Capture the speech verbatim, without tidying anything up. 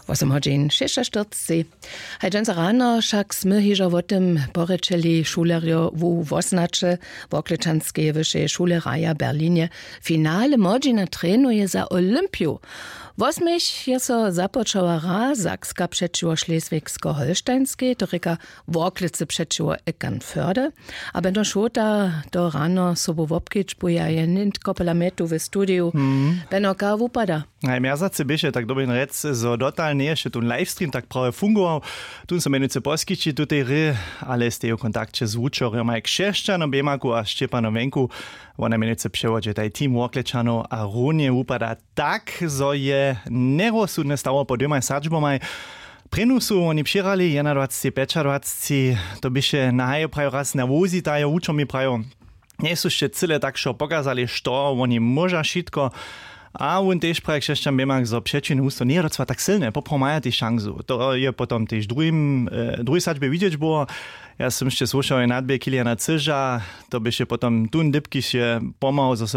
Wosomhodźin šěsćaštyrceći. Haj dźensa rano wšak smy hižo wo tym porěčeli šulerjo wu wosnaće woklečanskeje wyšeje šule raja w berlinje. Finale młodźina trenuje za olympiju. Wosměch je so započała hra sakska přećiwo šleswigsko-holštajnskej, to rěka woklecy přećiwo eckernförde. A beno šota to rano sobu wobkedźbuje a je nětko pola mjetu w studiju. Beno ka wupada? Najmjerzacy běše tak dobrin rjec, zo dotal njeješe tón livestream tak prawje fungował. Tón so mjenujcy poskići tutej hry, ale steju w kontakće z wučerjomaj křesćano běmaku a šćěpano wjenku. Wona mjenujcy přewodźe taj team woklečanow a runje wupada tak, zo je njerozsudne stało po dwěmaj sadźbomaj. Prěnu su woni přěhrali jednadwacci pjećadwacci. To běše na haje prajo raz na wuzitajo wučomi prajo, njejsu sće cyle tak wšo pokazali što woni móža wšitko. A wón tež praje křesćan běmak zo přećin husto njeje docła tak sylne poprawom maja tež šansu, to je potom tež druhim druhi sadźbje widźeć było. Ja sym sće słušał je nadběh kiliana cyža. To běše potom tón dypkiž je pomhał zo se